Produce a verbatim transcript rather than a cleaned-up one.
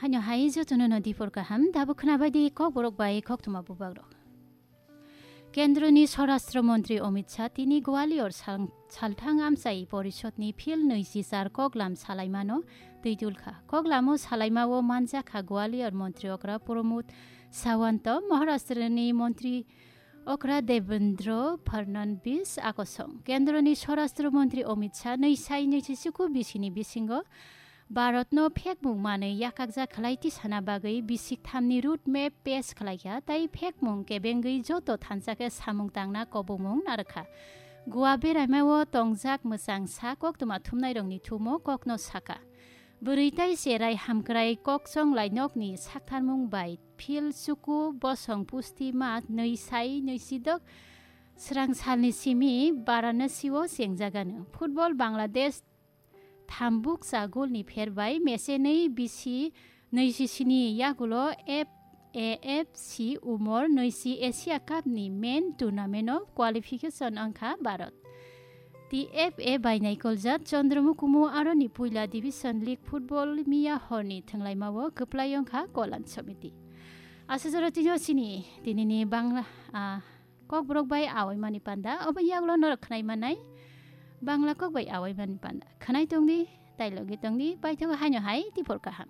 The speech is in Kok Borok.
Haino hai jotono no dipor kaham, dabo khnabai di kokborok bai koktwma bubagrok. Kendroni Swarashtra Montri Amit Shah tini Gwalior sal-, salthang amchai porishodni phil nwichi char koklam salaimano twi dulkha. Koklamo salaimao manjakha Gwalior Montri Okra Pramod Sawant, Maharashtrani Montri Okra Devendra Fadnavis akosong. Kendroni Swarashtra Montri Amit Shah nwi sai nwichi chuku bisini bisingo Bharatno phekmung manwi yakakjak khlai tisana bagwi bisik thamni road map pes khlaikha, tai phekmung kebengwi joto thansa khe samung tangna kobongmung narwkha. Goa beraimao tongjak mwchang sa koktwma thumnairokni thumo kokno saka. Bwrwi tai cherai hamkrai kokchonglai nokni saktharmung bai phil chuku bosong pusti ma nwi sai nwi sidok srang salni simi Varanasi-o chengjagano. Football Bangladesh thambuksa golni pher bai mechenwi bisi nwi sisini yagulo F A F C Umor nwi si Asia Cup ni main tournament o qualification wngkha Bharat. T F A bai naikoljak Chandra Mukumu aroni puila Division League football miya horni thwnglaimao kwplai wngkha Kolyan Samiti. Aswk jora tino chini tinini Bangla, ah, kokborok bai awaimani panda, obo yagulo norok khwnai manai Bangla kok bai awaimani panda. Khwnai tongdi, tai logi tongdi, paithago haino hai tipor kaham.